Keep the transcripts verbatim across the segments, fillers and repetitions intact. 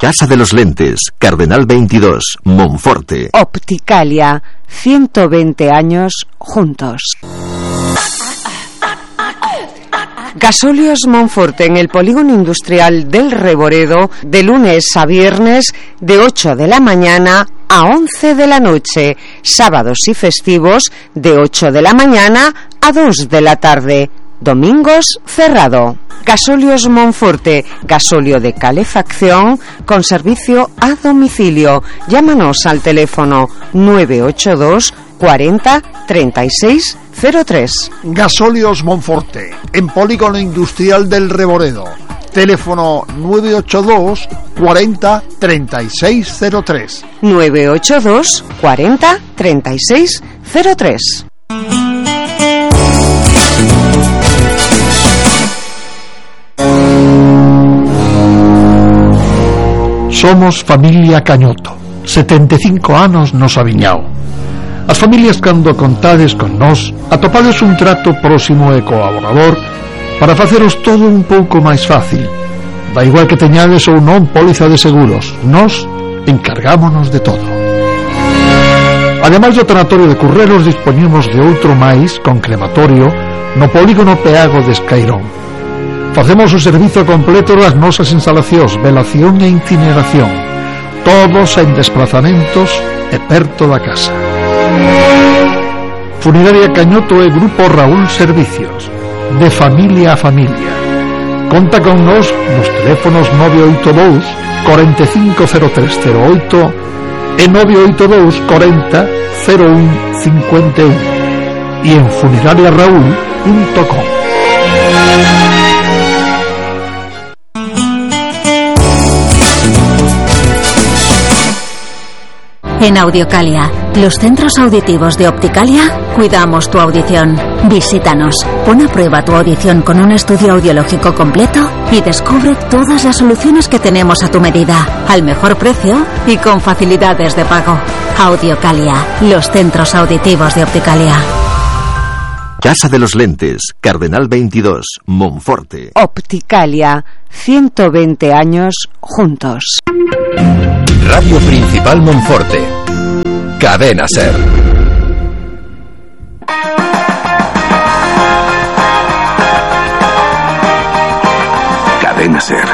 Casa de los Lentes, Cardenal veintidós, Monforte. Opticalia, ciento veinte años juntos. Gasóleos Monforte en el polígono industrial del Reboredo, de lunes a viernes de ocho de la mañana a once de la noche, sábados y festivos de ocho de la mañana a dos de la tarde, domingos cerrado. Gasóleos Monforte, gasóleo de calefacción con servicio a domicilio. Llámanos al teléfono nueve ocho dos cuarenta treinta y seis cero tres. Gasóleos Monforte, en polígono industrial del Reboredo. Teléfono nueve ocho dos cuarenta treinta y seis cero tres. nueve ocho dos cuarenta treinta y seis cero tres. Somos familia Cañoto, setenta e cinco anos nos aviñao. As familias cando contades con nós atopades un trato próximo e colaborador para faceros todo un pouco máis fácil. Da igual que teñades ou non póliza de seguros, nós encargámonos de todo. Ademais do tanatorio de Curreros, dispoñemos de outro máis con crematorio no polígono Peago de Escairón. Facemos o servizo completo das nosas instalacións, velación e incineración, todos en desplazamentos e perto da casa. Funeraria Cañoto e Grupo Raúl Servicios, de familia a familia. Conta con nos nos teléfonos nove oito dous cuarenta e cinco cero tres cero oito e nove oito dous cuarenta cero un cincuenta e un e en funeraria raúl punto com. En Audiocalia, los centros auditivos de Opticalia, cuidamos tu audición. Visítanos, pon a prueba tu audición con un estudio audiológico completo y descubre todas las soluciones que tenemos a tu medida, al mejor precio y con facilidades de pago. Audiocalia, los centros auditivos de Opticalia. Casa de los Lentes, Cardenal veintidós, Monforte. Opticalia, ciento veinte años juntos. Radio Principal Monforte. Cadena Ser. Cadena Ser.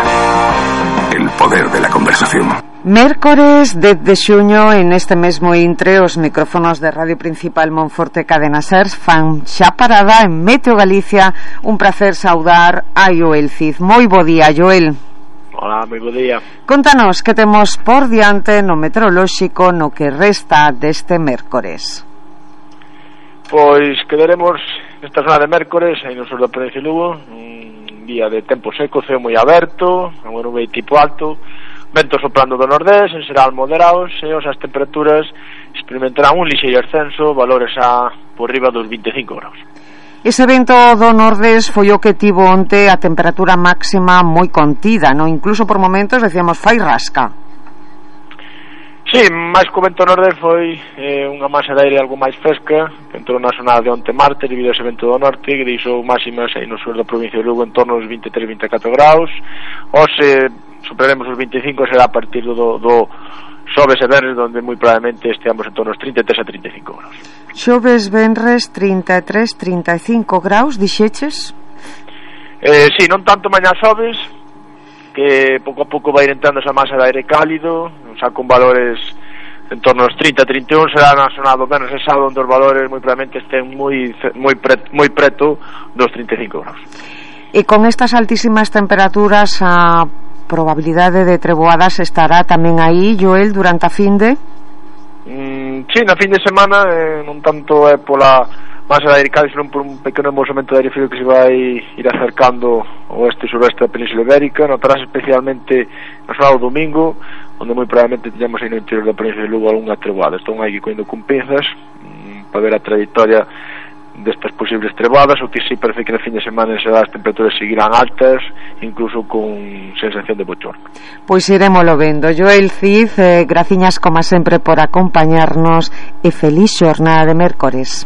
El poder de la conversación. Mércores dez de xuño, en este mesmo intre, os micrófonos de Radio Principal Monforte Cadena Ser fan xa parada en Meteo Galicia. Un placer saudar a Joel Cid. Moi bo día, Joel. Hola, moi bo día. Contanos que temos por diante no meteorolóxico no que resta deste mércores. Pois quedaremos nesta zona de mércores, aí no sur da provincia de Lugo, un día de tempo seco, ceo moi aberto, unha nube tipo alto, vento soprando do nordés, en xeral moderados, e as temperaturas experimentarán un lixeiro ascenso, valores a por riba dos vinte e cinco graus. Ese vento do nordés foi o que tivo onte a temperatura máxima moi contida, non? Incluso por momentos decíamos fai rasca. Sí, máis que o vento nordés foi eh, unha masa de aire algo máis fresca que entrou na zona de onte martes debido a ese vento do norte que deixou máximas aí no sur da provincia de Lugo en torno aos vinte e tres a vinte e catro graus. Hoxe superaremos os vinte e cinco, será a partir do, do xoves e venres, onde moi probablemente esteamos en torno aos trinta e tres a trinta e cinco graus. Xoves, venres, trinta e tres, trinta e cinco graus, dixeches? Eh, sí, non tanto mañá xoves, que pouco a pouco vai entrando esa masa de aire cálido, xa con valores en torno aos trinta a trinta e un, será na zona do venres e sábado, onde os valores moi probablemente estén moi, moi, pre, moi preto dos trinta e cinco graus. E con estas altísimas temperaturas, a probabilidade de treboadas estará tamén aí, Joel, durante a finde? Mm, sí, na fin de semana, eh, non tanto é pola masa de aire cálido, senón por un pequeno movimento de aire frío que se vai ir acercando ao oeste e suroeste da Península Ibérica. Notarás especialmente no sábado e domingo, onde moi probablemente teñamos aí no interior da Península de Lugo algunha treboada. Estón aí coindo con pinzas mm, para ver a trayectoria destas posibles trebadas. O que sí parece que na fin de semana as temperaturas seguirán altas, incluso con sensación de bochorno. Pois irémolo vendo. Joel Cid, eh, graciñas como sempre por acompañarnos e feliz xornada de mércores.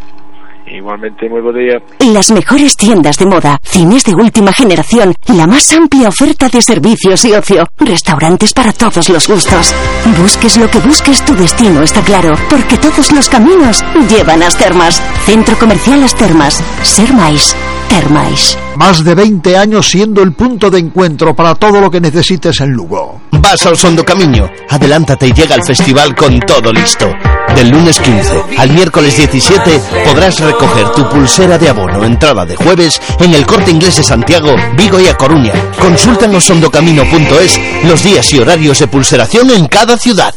igualmente muy buen día. Las mejores tiendas de moda, cines de última generación, la más amplia oferta de servicios y ocio, restaurantes para todos los gustos. Busques lo que busques, tu destino está claro, porque todos los caminos llevan a As Termas. Centro Comercial As Termas. Ser máis, ter máis. Más de veinte años siendo el punto de encuentro para todo lo que necesites en Lugo. Vas al Sondo Camiño, adelántate y llega al festival con todo listo. Del lunes quince al miércoles diecisiete podrás recoger tu pulsera de abono entrada de jueves en el Corte Inglés de Santiago, Vigo y A Coruña. Consulta en osondocamino punto es los días y horarios de pulseración en cada ciudad.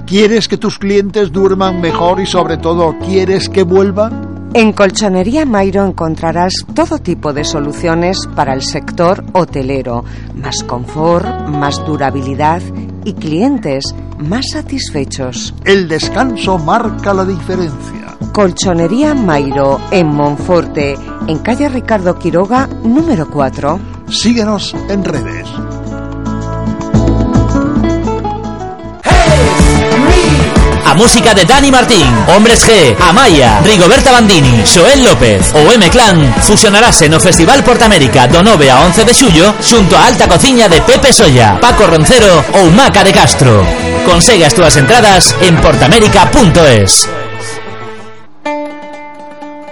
¿Quieres que tus clientes duerman mejor y sobre todo quieres que vuelvan? En Colchonería Mairo encontrarás todo tipo de soluciones para el sector hotelero, más confort, más durabilidad y clientes más satisfechos. El descanso marca la diferencia. Colchonería Mairo en Monforte, en calle Ricardo Quiroga, número cuatro. Síguenos en redes. A música de Dani Martín, Hombres G, Amaya, Rigoberta Bandini, Xoel López o M-Clan fusionarase no Festival Portamérica do nove a once de xullo xunto a alta cociña de Pepe Solla, Paco Roncero ou Maca de Castro. Consegue as túas entradas en portamérica punto es.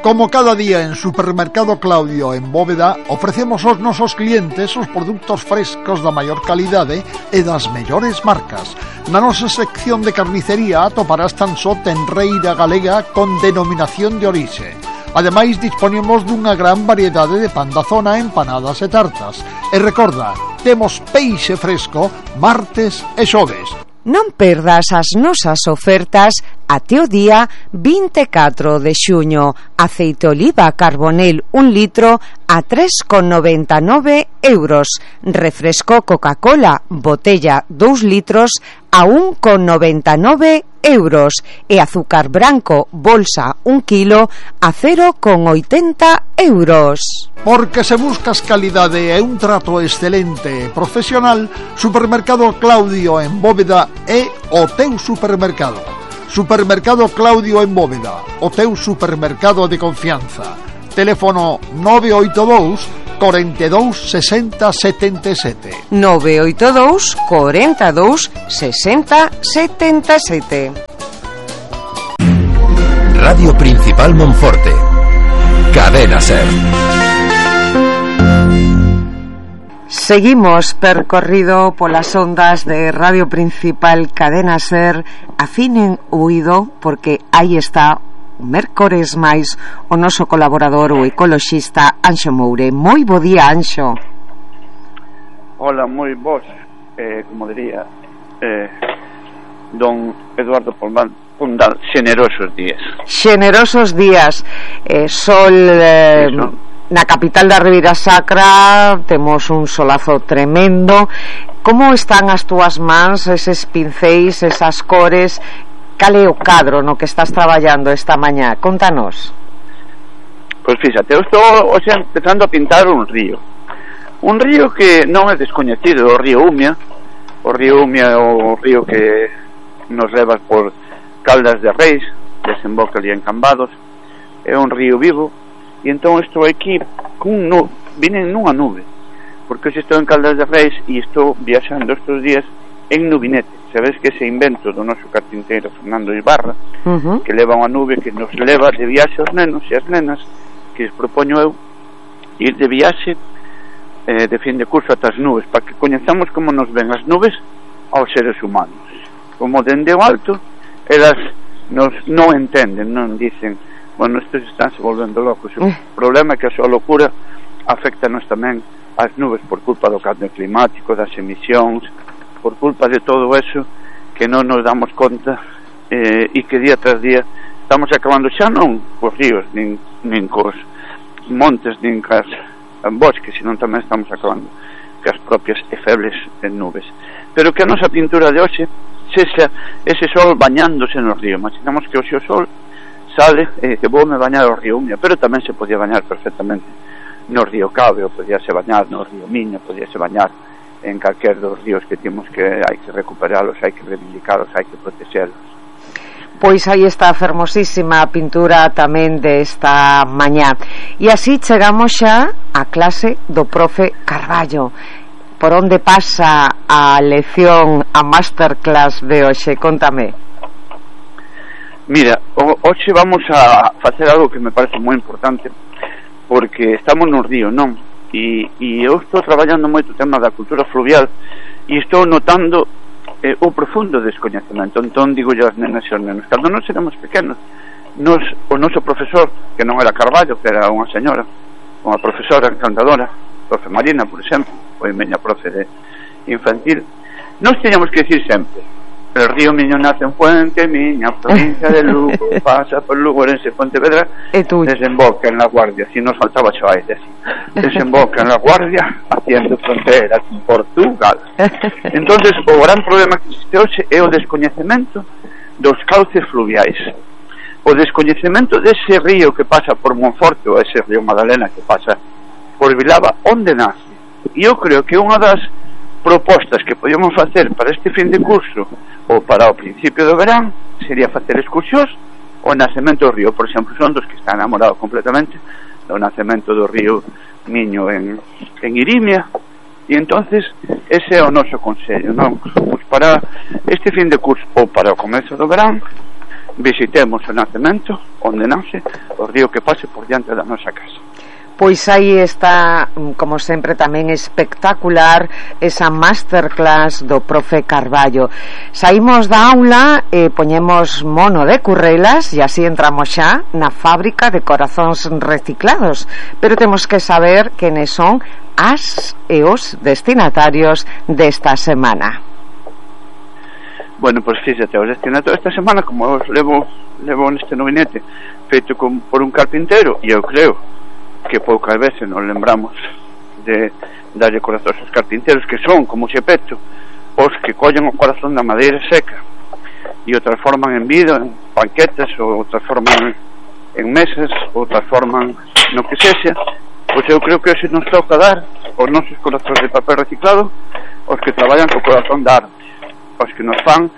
Como cada día en Supermercado Claudio en Bóveda, ofrecemos aos nosos clientes os produtos frescos da maior calidade e das mellores marcas. Na nosa sección de carnicería atoparás tan só tenreira galega con denominación de orixe. Ademais, disponemos dunha gran variedade de pan da zona, empanadas e tartas. E recorda, temos peixe fresco martes e xoves. Non perdas as nosas ofertas até o día vinte e catro de xuño. Aceite oliva Carbonel un litro a tres con noventa e nove euros. Refresco Coca-Cola botella dous litros a un con noventa e nove euros. E azúcar branco bolsa un kilo a cero con oitenta euros. Porque se buscas calidade e un trato excelente e profesional, Supermercado Claudio en Bóveda é o teu supermercado. Supermercado Claudio en Bóveda, o teu supermercado de confianza. Teléfono nove oito dous, cuarenta y dos, sesenta, setenta y siete. nove oito dous, cuarenta y dos, sesenta, setenta y siete. Radio Principal Monforte. Cadena Ser. Seguimos percorrido polas ondas de Radio Principal Cadena Ser. Afinen o oído porque aí está un mércores máis o noso colaborador, o ecoloxista Anxo Moure. Moi bo día, Anxo. Hola, moi vos, eh, como diría eh, don Eduardo Pondal, Pondal, xenerosos días. Xenerosos días, eh, sol eh, na capital da Ribeira Sacra, temos un solazo tremendo. Como están as túas mans, eses pincéis, esas cores? Cal é o cadro no que estás traballando esta mañá? Contanos. Pois fíxate, eu estou hoxe empezando a pintar un río. Un río que non é descoñecido, o río Umia. O río Umia é o río que nos leva por Caldas de Reis, desemboca ali en Cambados. É un río vivo. E entón estou aquí cun nube, vine nunha nube, porque hoxe estou en Caldas de Reis e estou viaxando estes días en nubinete. Sabes que ese invento do noso carpinteiro Fernando Ibarra, uh-huh. que leva unha nube que nos leva de viaxe aos nenos e as nenas, que les propoño eu ir de viaxe eh, de fin de curso ata as nubes, para que coñezamos como nos ven as nubes aos seres humanos, como dende o alto elas nos non entenden, non dicen, bueno, estes están se volvendo locos. O problema é que a súa locura afecta-nos tamén as nubes por culpa do cambio climático, das emisións, por culpa de todo eso que non nos damos conta eh, e que día tras día estamos acabando xa non cos ríos nin, nin cos montes nin cas bosques, senón tamén estamos acabando cas propias e febles en nubes. Pero que a nosa pintura de hoxe sexa ese sol bañándose no río. Imaginamos que hoxe o sol sale e eh, que vou me bañar o río Umia, pero tamén se podía bañar perfectamente no río Cabe, ou podía se bañar no río Miño, podía se bañar en calquer dos ríos que temos que hai que recuperalos, hai que reivindicalos, hai que protegerlos. Pois aí está a fermosísima pintura tamén desta mañá. E así chegamos xa á clase do profe Carballo. Por onde pasa a lección, a masterclass de hoxe? Contame. Mira, hoxe vamos a facer algo que me parece moi importante, porque estamos no río, non? E, e eu estou traballando moito o tema da cultura fluvial e estou notando eh, o profundo descoñecemento. Entón digo yo as nenas e os nenos, cando nos éramos pequenos, nos, o noso profesor, que non era Carballo, que era unha señora, unha profesora encantadora, profe Marina, por exemplo, foi meña profe de infantil, nos teníamos que decir sempre: el río Miño nace en Fuente Miña, provincia de Lugo, pasa por Lugo, Orense, Pontevedra, desemboca en La Guardia. Si nos faltaba xo aire, así, desemboca en La Guardia, haciendo frontera con Portugal. Entonces, o gran problema que existe hoxe é o descoñecemento dos cauces fluviais, o descoñecemento dese río que pasa por Monforte, ou ese río Madalena que pasa por Vilava, onde nace. E eu creo que unha das propostas que podíamos facer para este fin de curso ou para o principio do verán sería facer excursións o nacemento do río. Por exemplo, son dos que están enamorados completamente do nacemento do río Miño en, en Irimia, e entonces ese é o noso consello, non? Pues para este fin de curso ou para o comezo do verán visitemos o nacemento onde nace o río que pase por diante da nosa casa. Pois aí está, como sempre, tamén espectacular esa masterclass do profe Carballo. Saímos da aula e poñemos mono de currelas e así entramos xa na fábrica de corazóns reciclados, pero temos que saber quenes son as e os destinatarios desta semana. Bueno, pois pues, fíxate, os destinatarios esta semana, como os levo, levo neste novinete feito con, por un carpintero, e eu creo que poucas veces nos lembramos de darlle corazóns aos carpinteros, que son, como Xepeto, os que collen o corazón da madeira seca e o transforman en vida, en banquetas, ou o transforman en mesas, ou transforman no que sexa. Pois eu creo que hoxe nos toca dar os nosos corazóns de papel reciclado os que traballan co corazón da arte, os que nos fan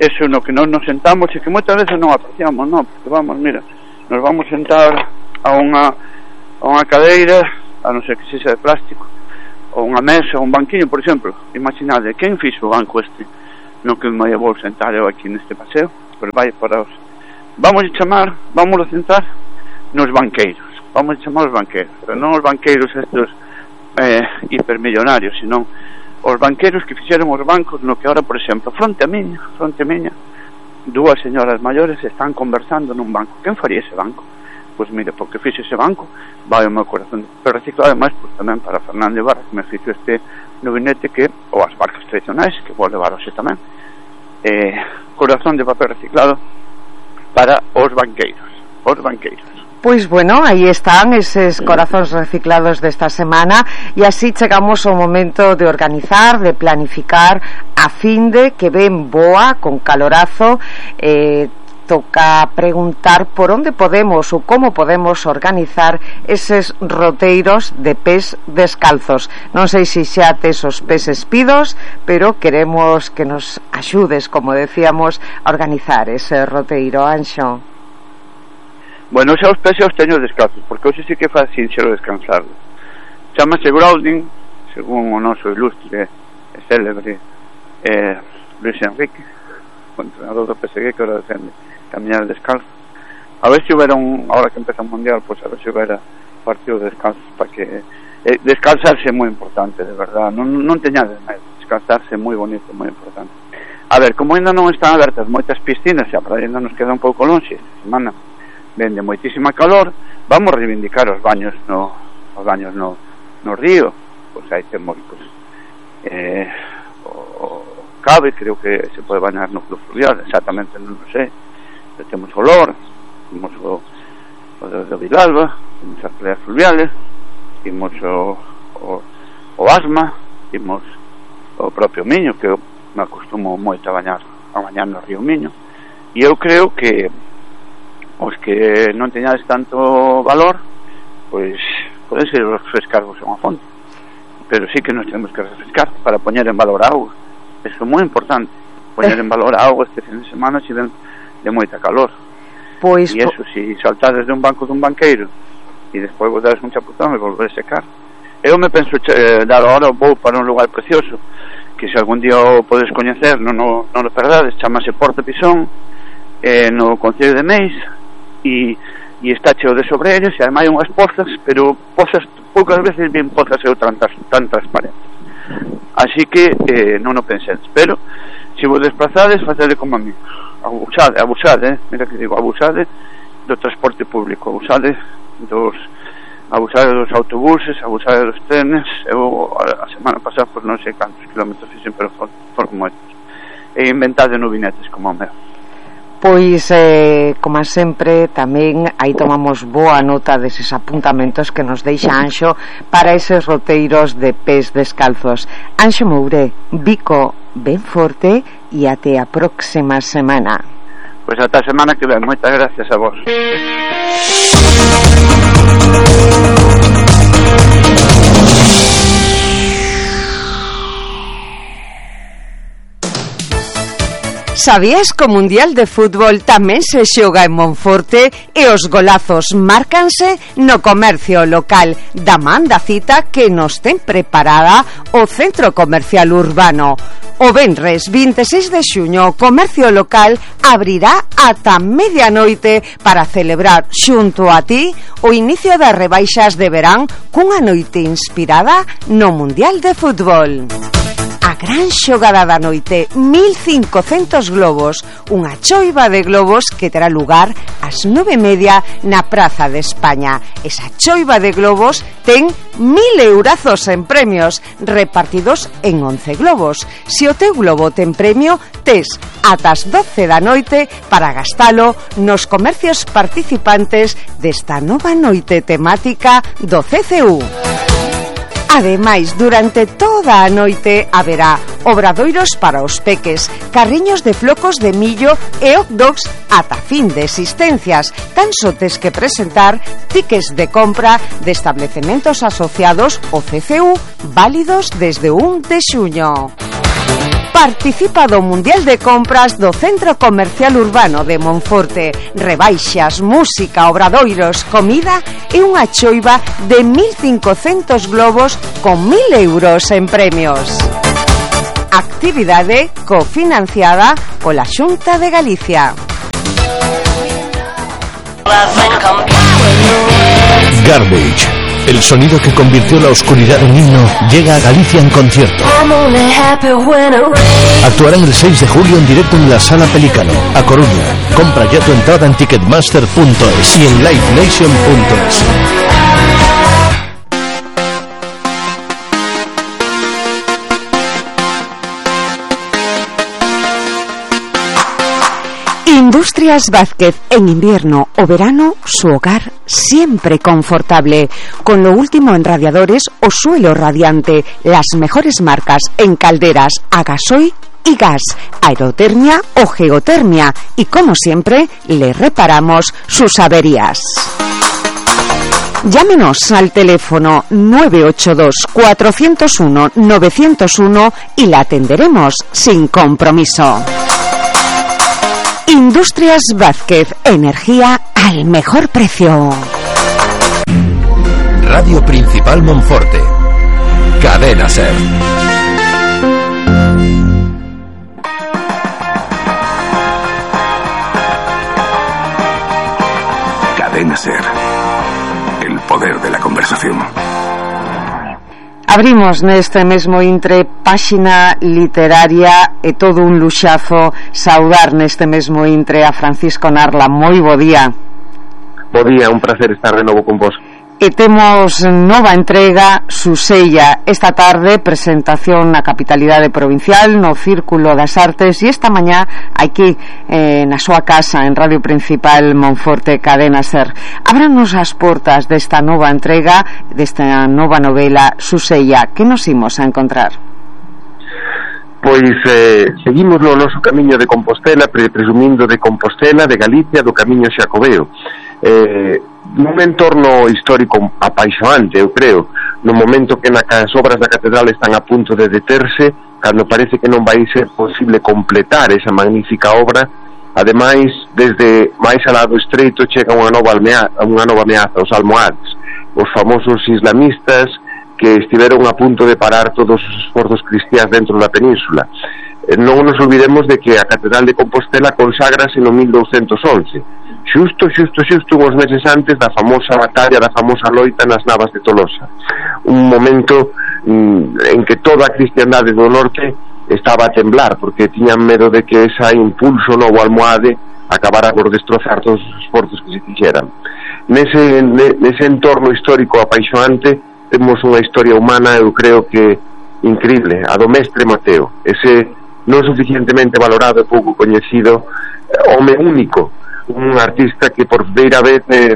eso no que non nos sentamos e que moitas veces non apreciamos, non? Porque vamos, mira, nos vamos sentar a unha a unha cadeira, a non ser que sexa de plástico, ou unha mesa, ou un banquiño, por exemplo. Imaginade, quen fixo o banco este no que me vou sentar eu aquí neste paseo? Pois vai para os... Vamos a chamar, vamos a sentar nos banqueiros, vamos a chamar os banqueiros, pero non os banqueiros estes eh, hipermillonarios, senón os banqueiros que fixeron os bancos no que ahora, por exemplo, fronte a miña, fronte a miña, dúas señoras maiores están conversando nun banco. Quen faría ese banco? Pois mire, porque fixe ese banco, vai o meu corazón. Pero reciclado, ademais, pois tamén para Fernando Ibarra, que me fixo este novinete, que, ou as barcas tradicionais, que vou levar hoxe tamén, eh, corazón de papel reciclado para os banqueiros, os banqueiros. Pois bueno, aí están eses corazóns reciclados desta semana, e así chegamos ao momento de organizar, de planificar a finde que ven boa, con calorazo. eh, toca preguntar por onde podemos ou como podemos organizar eses roteiros de pés descalzos. Non sei se xa tes os pés espidos, pero queremos que nos axudes, como decíamos, a organizar ese roteiro, Anxo. Bueno, xa os pés xa os teño descalzos, porque hoxe sí que é fácil xero descansarlos. Chámase grounding, según o noso ilustre e célebre eh, Luis Enrique, o entrenador do P S G, que ahora defende caminar descalzo. A ver se houbera un, ahora que empeza o mundial, pois pues a ver se houbera partido descalzo, para que eh, descansarse é moi importante, de verdad, non, non teñades medo, descansarse é moi bonito, moi importante. A ver, como ainda non están abertas moitas piscinas, e a praia ainda nos queda un pouco longe, esta semana vende moitísima calor, vamos reivindicar os baños no, os baños no, no río. Pois aí temos, pois, eh, o, o Cabe, creo que se pode bañar no club fluvial, exactamente non o sei. Temos o Lor, temos o, o de, de Vilalba, temos as playas fluviales, temos o, o, o Asma, temos o propio Miño, que eu me acostumo moito a bañar a bañar no río Miño, e eu creo que os que non teñades tanto valor, pois poden ser refrescarvos a unha fonte, pero sí que nos temos que refrescar para poñer en valor a auga. Eso é moi importante, poñer en valor a auga. Este fin de semana, se ven de moita calor. Pois, e eso, se si saltades de un banco dun banqueiro e despois vos dades un chapuzón e volver a secar. Eu me penso eh, dar ahora vou para un lugar precioso que se algún día o podes coñecer, non o, non o perdades, chamase Porto Pisón, eh, no Concello de Meis, e, e está cheo de sobreiras, e ademais hai unhas pozas, pero pozas, poucas veces bien pozas eu tan, tan transparentes. Así que eh, non o pensedes, pero se vos desplazades, facede como a mí, abusade, abusade, eh? mira que digo, abusade do transporte público, abusade dos abusade dos autobuses, abusade dos trenes. Eu a semana pasada por non sei cantos kilómetros fixen, pero foron, foron moitos, e inventade novinetes como o meu. Pois, eh, como sempre, tamén aí tomamos boa nota deses apuntamentos que nos deixa Anxo para eses roteiros de pés descalzos. Anxo Moure, bico ben forte e até a próxima semana. Pois ata a semana que ven, moitas gracias a vos. Sabías que o Mundial de Fútbol tamén se xoga en Monforte e os golazos márcanse no comercio local da man da cita que nos ten preparada o Centro Comercial Urbano. O venres vinte e seis de xuño o comercio local abrirá ata medianoite para celebrar xunto a ti o inicio das rebaixas de verán cunha noite inspirada no Mundial de Fútbol. A gran xogada da noite, mil cincocentos globos, unha choiva de globos que terá lugar ás nove e media na Praza de España. Esa choiva de globos ten mil eurazos en premios, repartidos en once globos. Se o teu globo ten premio, tes ata as doce da noite para gastalo nos comercios participantes desta nova noite temática do C C U. Ademais, durante toda a noite haberá obradoiros para os peques, carriños de flocos de millo e hot dogs ata fin de existencias. Tan só tes que presentar tickets de compra de establecementos asociados ao C C U válidos desde un de xuño. Participa do Mundial de Compras do Centro Comercial Urbano de Monforte. Rebaixas, música, obradoiros, comida e unha choiva de mil cincocentos globos con mil euros en premios. Actividade cofinanciada pola Xunta de Galicia. Garbage, el sonido que convirtió la oscuridad en himno, llega a Galicia en concierto. Actuarán el seis de julio en directo en la Sala Pelícano, a Coruña. Compra ya tu entrada en ticketmaster punto es y en live nation punto es. Industrias Vázquez, en invierno o verano, su hogar siempre confortable. Con lo último en radiadores o suelo radiante, las mejores marcas en calderas a gasoil y gas, aerotermia o geotermia. Y como siempre, le reparamos sus averías. Llámenos al teléfono nueve ocho dos, cuatro cero uno, nueve cero uno y la atenderemos sin compromiso. Industrias Vázquez, energía al mejor precio. Radio Principal Monforte. Cadena Ser. Cadena Ser. El poder de la conversación. Abrimos neste mesmo intre páxina literaria e todo un luxazo saudar neste mesmo intre a Francisco Narla. Moi bo día. Bo día, un placer estar de novo con vos. E temos nova entrega, Susella. Esta tarde presentación na capitalidade provincial, no Círculo das Artes, e esta mañá aquí eh, na súa casa en Radio Principal Monforte, Cadena Ser. Ábranos as portas desta nova entrega, desta nova novela, Susella. Que nos imos a encontrar? Pois eh, seguimos no noso camiño de Compostela, pre presumindo de Compostela, de Galicia, do camiño xacobeo. Eh, nun entorno histórico apaixonante, eu creo, no momento que na, as obras da catedral están a punto de deterse, cando parece que non vai ser posible completar esa magnífica obra, Ademais, desde máis alá do estreito chega unha nova ameaza, unha nova ameaza, os almohades, os famosos islamistas que estiveron a punto de parar todos os esforzos cristiáns dentro da península. Non nos olvidemos de que a Catedral de Compostela conságrase no mil douscentos once, xusto, xusto, xusto uns meses antes da famosa batalla, da famosa loita nas Navas de Tolosa, un momento mm, en que toda a cristiandade do norte estaba a temblar, porque tiñan medo de que ese impulso novo almohade acabara por destrozar todos os esforzos que se fixeran. Nese, nese entorno histórico apaixonante temos unha historia humana, eu creo que increíble, a do Mestre Mateo, ese non suficientemente valorado e pouco coñecido home único, un artista que por primeira vez eh,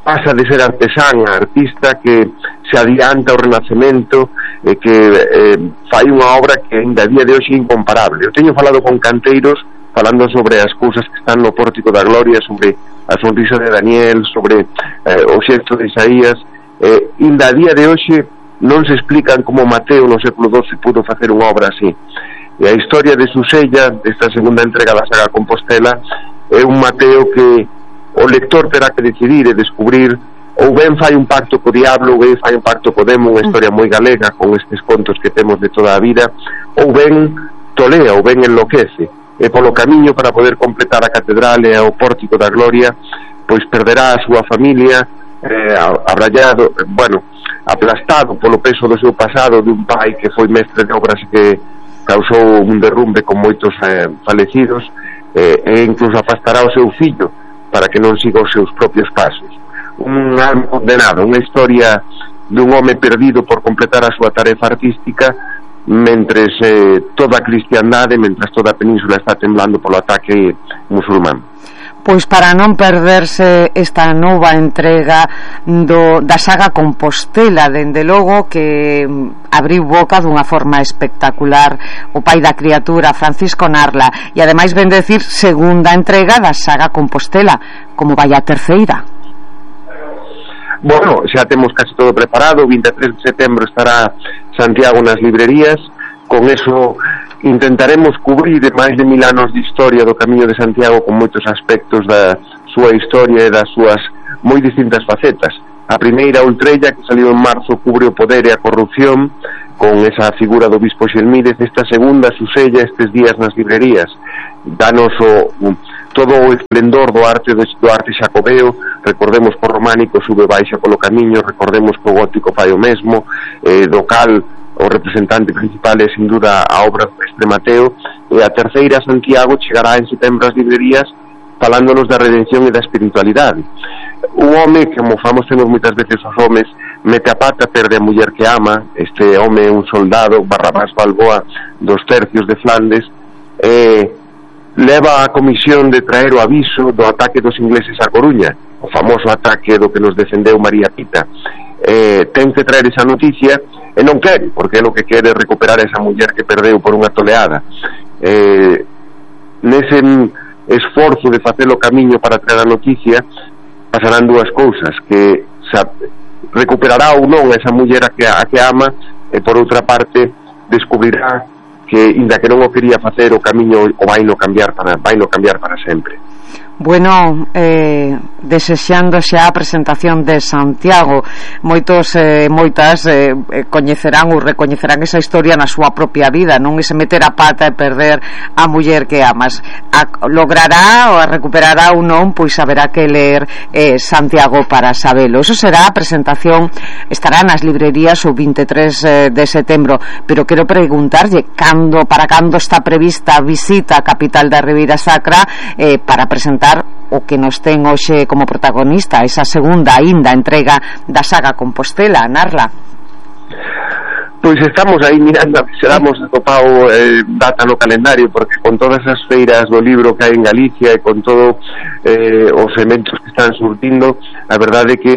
pasa de ser artesán a artista que se adianta ao Renacemento e que eh, fai unha obra que ainda a día de hoxe é incomparable. Eu teño falado con canteiros falando sobre as cousas que están no Pórtico da Gloria, sobre a sonrisa de Daniel, sobre eh, o xesto de Isaías. Eh, ainda a día de hoxe non se explican como Mateo no século doce pudo facer unha obra así. E a historia de Susella, desta segunda entrega da saga Compostela, é un Mateo que o lector terá que decidir e descubrir, ou ben fai un pacto co diablo, ou ben fai un pacto co demo, unha historia moi galega con estes contos que temos de toda a vida, ou ben tolea, ou ben enloquece, e polo camiño para poder completar a catedral e o Pórtico da Gloria, pois perderá a súa familia, eh, abrallado, bueno, aplastado polo peso do seu pasado, de un pai que foi mestre de obras que causou un derrumbe con moitos eh, falecidos, eh, e incluso afastará o seu fillo para que non siga os seus propios pasos. Un alma condenado, unha historia dun home perdido por completar a súa tarefa artística, mentres eh, toda a cristiandade, mentres toda a península está temblando polo ataque musulmán. Pois para non perderse esta nova entrega do, da saga Compostela, dende logo que abriu boca dunha forma espectacular o pai da criatura, Francisco Narla, e ademais ven decir segunda entrega da saga Compostela, como vai a terceira. Bueno, xa temos casi todo preparado, o vinte e tres de setembro estará Santiago nas librerías, con eso intentaremos cubrir máis de mil anos de historia do Camiño de Santiago con moitos aspectos da súa historia e das súas moi distintas facetas. A primeira, Ultrella, que saliu en marzo, cubre o poder e a corrupción con esa figura do bispo Xelmídez. Esta segunda, Susella, estes días nas librerías, danos o, todo o esplendor do arte do, do arte xacobeo. Recordemos que o románico sube baixa polo camiño, recordemos que o gótico fai o mesmo, eh, do cal o representante principal é sin duda a obra do Mestre Mateo, e a terceira, Santiago, chegará en setembro ás librerías falándonos da redención e da espiritualidade. Un home, como famosemos moitas veces os homes, mete a pata, perde a muller que ama. Este home é un soldado, Barrabás Balboa, dos tercios de Flandes, e leva a comisión de traer o aviso do ataque dos ingleses a Coruña, o famoso ataque do que nos defendeu María Pita. Eh, ten que traer esa noticia e non quere, porque é o que quere recuperar esa muller que perdeu por unha toleada. Eh, nese esforzo de facer o camiño para traer a noticia pasarán dúas cousas, que sa, recuperará ou non esa muller a que, a que ama, e por outra parte descubrirá que, inda que non o quería facer, o camiño o vai no cambiar para, vai no cambiar para sempre. Bueno, eh, desexando xa a presentación de Santiago, moitos eh, moitas eh, coñecerán ou recoñecerán esa historia na súa propia vida, non ese meter a pata e perder a muller que amas. A, logrará ou a recuperará ou non, pois haberá que ler eh, Santiago para sabelo. Eso será a presentación, estará nas librerías o vinte e tres de setembro, pero quero preguntarlle cando, para cando está prevista a visita á capital da Ribeira Sacra eh, para presentar o que nos ten hoxe como protagonista esa segunda aínda entrega da saga Compostela, Narla. Pois estamos aí mirando a que se damos atopado eh, data no calendario, porque con todas as feiras do libro que hai en Galicia e con todo eh, os eventos que están surtindo, a verdade é que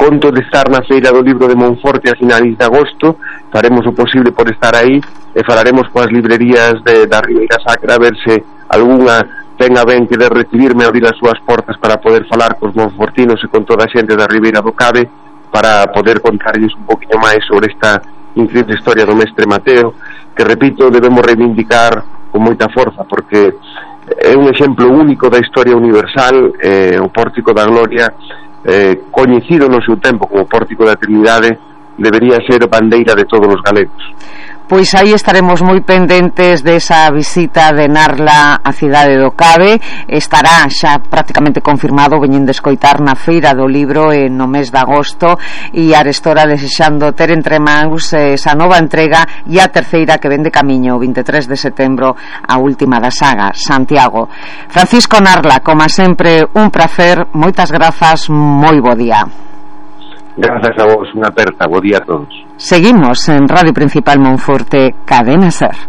conto de estar na feira do libro de Monforte a finais de agosto. Faremos o posible por estar aí e falaremos coas librerías de, da Ribeira Sacra a ver se algunha tenga ben que de recibirme a abrir as súas portas para poder falar cos monfortinos e con toda a xente da Ribeira do Cabe, para poder contarlles un poquinho máis sobre esta increíble historia do Mestre Mateo, que, repito, debemos reivindicar con moita forza, porque é un exemplo único da historia universal. Eh, o Pórtico da Gloria, eh, coñecido no seu tempo como Pórtico da Trinidade, debería ser bandeira de todos os galegos. Pois aí estaremos moi pendentes desa visita de Narla á cidade do Cabe. Estará xa prácticamente confirmado, veñen de escoitar, na Feira do Libro en no mes de agosto, e Arestora desexando ter entre mans esa nova entrega e a terceira que ven de camiño o vinte e tres de setembro, a última da saga, Santiago. Francisco Narla, como sempre, un prazer, moitas grazas, moi bo día. Grazas a vos, unha aperta, bo día a todos. Seguimos en Radio Principal Monforte, Cadena Ser.